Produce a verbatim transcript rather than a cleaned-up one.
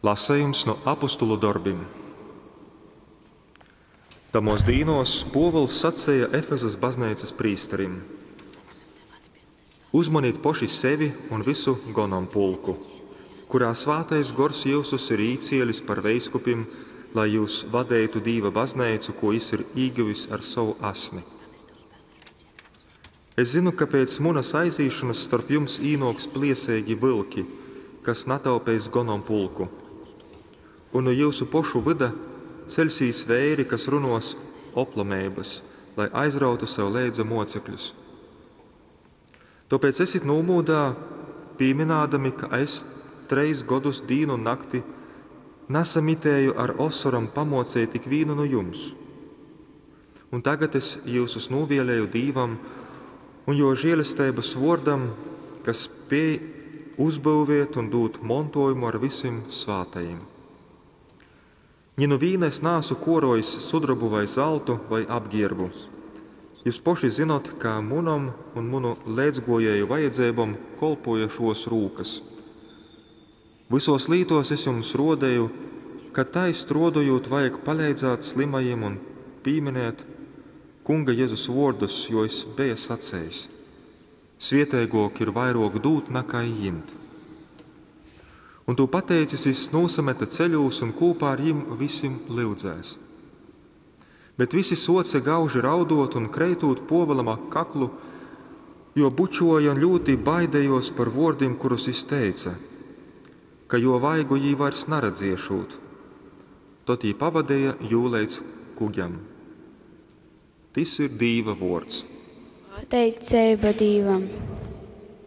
Lasejums nu Apostulu dorbim. Tamōs dīnōs Pōvuls saceja Efezas bazneicas prīsterim: Uzmonit poši sevi un vysu gonompulku, kurā Svātais Gors jyusus ir īcielis par veiskupim, lai jyus vadeitu Dīva bazneicu, kū jys ir īgyvis ar sovu asni. Es zynu, ka pēc munas aizīšonas storp jums īnōks plieseigi vylki, kas nataupeis gonompulku. Un nu jyusu pošu vyda ceļsīs veiri, kas runōs oplameibas, lai aizrautu sev leidza mōcekļus. Tōpēc esit nūmūdā, pīmynādami, ka es trejs godus dīnu un nakti nasamitēju ar osorom pamōceit ikvīnu nu jums. Un tagad es jyusus nūvieleju Dīvam un jō žēlesteibas vōrdam, kas spēj uzbyuvēt un dūt montōjumu ar vysim svātajim. Ni nu vīna es naasu kuorojis sudrobu vai zaltu vai apgierbu. Jyus poši zynot, ka munom un munu leidzguojēju vajadzeibom kolpuoja šuos rūkys. Vysuos lītuos es jums ruodeju, ka tai struodojūt vajag paleidzāt slymajim un pīminēt Kunga Jezus vuordus, jo jis beja sacejs: Svieteiguok ir vairuok dūt nakai jimt. Un tū pateicis, jis nūsamete ceļūs un kūpā ar jim vysim lyudzēs. Bet vysi suoce gauži rauduot un, kreitūt Puovulam ap kaklu, juo bučuoja un ļūti baidejuos par vuordim, kurus jis teice, ka juo vaigu jī vairs naredziešūt. Tod jī pavadeja jū leidz kuģam. Tys ir Dīva vuords. Pateiceiba Dīvam.